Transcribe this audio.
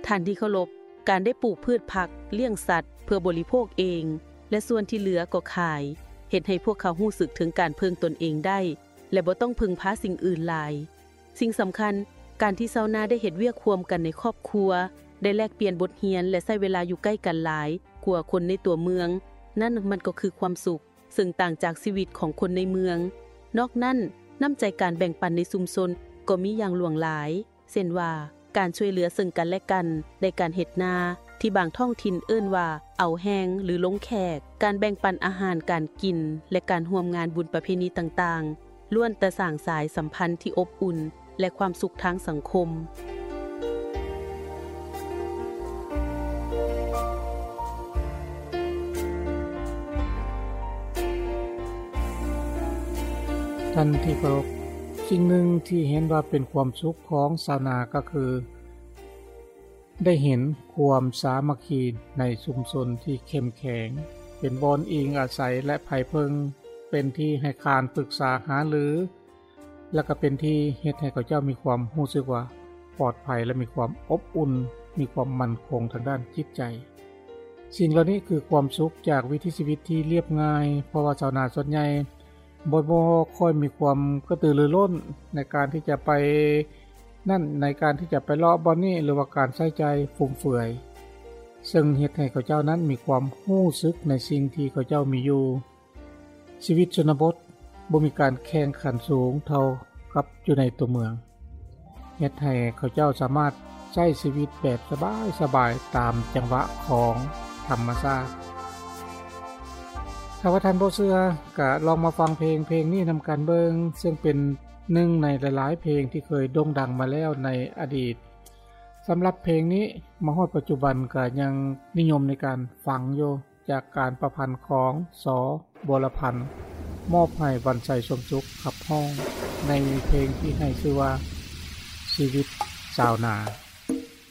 ທ່ານທີ່ເຄົາລົບ, ການໄດ້ປູກພືດຜັກ, ລ້ຽງສັດເພື່ອບໍລິໂພກເອງ ແລະ ສ່ວນທີ່ເຫຼືອກໍຂາຍ ເຮັດໃຫ້ພວກເຂົາຮູ້ສຶກເຖິງການເພິ່ງຕົນເອງໄດ້ ແລະ ບໍ່ຕ້ອງເພິ່ງພາສິ່ງອື່ນຫຼາຍ. ສິ່ງສຳຄັນ, ການທີ່ຊາວນາໄດ້ເຮັດວຽກຮ່ວມກັນໃນຄອບຄົວ, ໄດ້ແລກປ່ຽນບົດຮຽນ ແລະ ໃຊ້ເວລາຢູ່ໃກ້ກັນຫຼາຍກວ່າຄົນໃນຕົວເມືອງ, ນັ້ນມັນກໍຄືຄວາມສຸກ ເຊິ່ງຕ່າງຈາກຊີວິດຂອງຄົນໃນເມືອງ. ນອກນັ້ນ, ນ້ຳໃຈການແບ່ງປັນໃນຊຸມຊົນກໍມີຢ່າງຫຼວງຫຼາຍ, ເຊັ່ນວ່າ ການຊ່ວຍເຫຼືອເຊິ່ງກັນແລະກັນໃນການເຮັດນາ, ທີ່ບາງທ້ອງຖິ່ນເອີ້ນວ່າ ເອົາແຮງ ຫຼື ລົງແຂກ, ການແບ່ງປັນອາຫານການກິນ ແລະ ການຮ່ວມງານບຸນປະເພນີຕ່າງໆ ລ້ວນແຕ່ສ້າງສາຍສຳພັນທີ່ອົບອຸ່ນ ແລະ ຄວາມສຸກທາງສັງຄົມ. ທ່ານທີ່ເຄົາລົບ, ສິ່ງໜຶ່ງທີ່ເຫັນວ່າເປັນຄວາມສຸກຂອງຊາວນາກໍຄື ໄດ້ເຫັນຄວາມສາມັກຄີໃນຊຸມຊົນທີ່ເຂັ້ມແຂງ, ເປັນບ່ອນອີງອາໄສ ແລະ ໄພເພິ່ງ, ເປັນທີ່ໃຫ້ການປຶກສາຫາລື ແລະ ກໍເປັນທີ່ເຮັດໃຫ້ເຂົາເຈົ້າມີຄວາມຮູ້ສຶກວ່າປອດໄພ ແລະ ມີຄວາມອົບອຸ່ນ, ມີຄວາມໝັ້ນຄົງທາງດ້ານຈິດໃຈ. ສິ່ງເຫຼົ່ານີ້ຄືຄວາມສຸກຈາກວິຖີຊີວິດທີ່ລຽບງ່າຍ, ເພາະວ່າຊາວນາສ່ວນໃຫຍ່ ບໍ່ ບໍ່ຄ່ອຍມີຄວາມກະຕືລືລົ້ນໃນການທີ່ຈະໄປນັ້ນ, ໃນການທີ່ຈະໄປເລາະບ່ອນນີ້ ຫຼືວ່າການໃຊ້ຈ່າຍຟຸມເຟືອຍ, ເຊິ່ງເຮັດໃຫ້ເຂົາເຈົ້ານັ້ນມີຄວາມຮູ້ສຶກໃນສິ່ງທີ່ເຂົາເຈົ້າມີຢູ່. ຊີວິດຊົນນະບົດບໍ່ມີການແຂ່ງຂັນສູງເທົ່າກັບຢູ່ໃນຕົວເມືອງ. ເຮັດໃຫ້ເຂົາເຈົ້າສາມາດໃຊ້ຊີວິດແບບສະບາຍໆ ຕາມຈັງຫວະຂອງທຳມະຊາດ. ຖ້າວ່າທ່ານບໍ່ເຊື່ອ, ກະລອງມາຟັງເພງ ເພງນີ້ນຳກັນເບິ່ງ, ເຊິ່ງເປັນໜຶ່ງໃນຫຼາຍໆເພງທີ່ເຄີຍໂດ່ງດັງມາແລ້ວໃນອະດີດ. ສຳລັບເພງນີ້ ມາຮອດປັດຈຸບັນກະຍັງນິຍົມໃນການຟັງຢູ່. ຈາກການປະພັນຂອງ ສ. ບົວລະພັນ ມອບໃຫ້ວັນໄຊ ສົມສຸກ ຂັບຮ້ອງ ໃນເພງທີ່ໃຫ້ຊື່ວ່າ ຊີວິດຊາວນາ.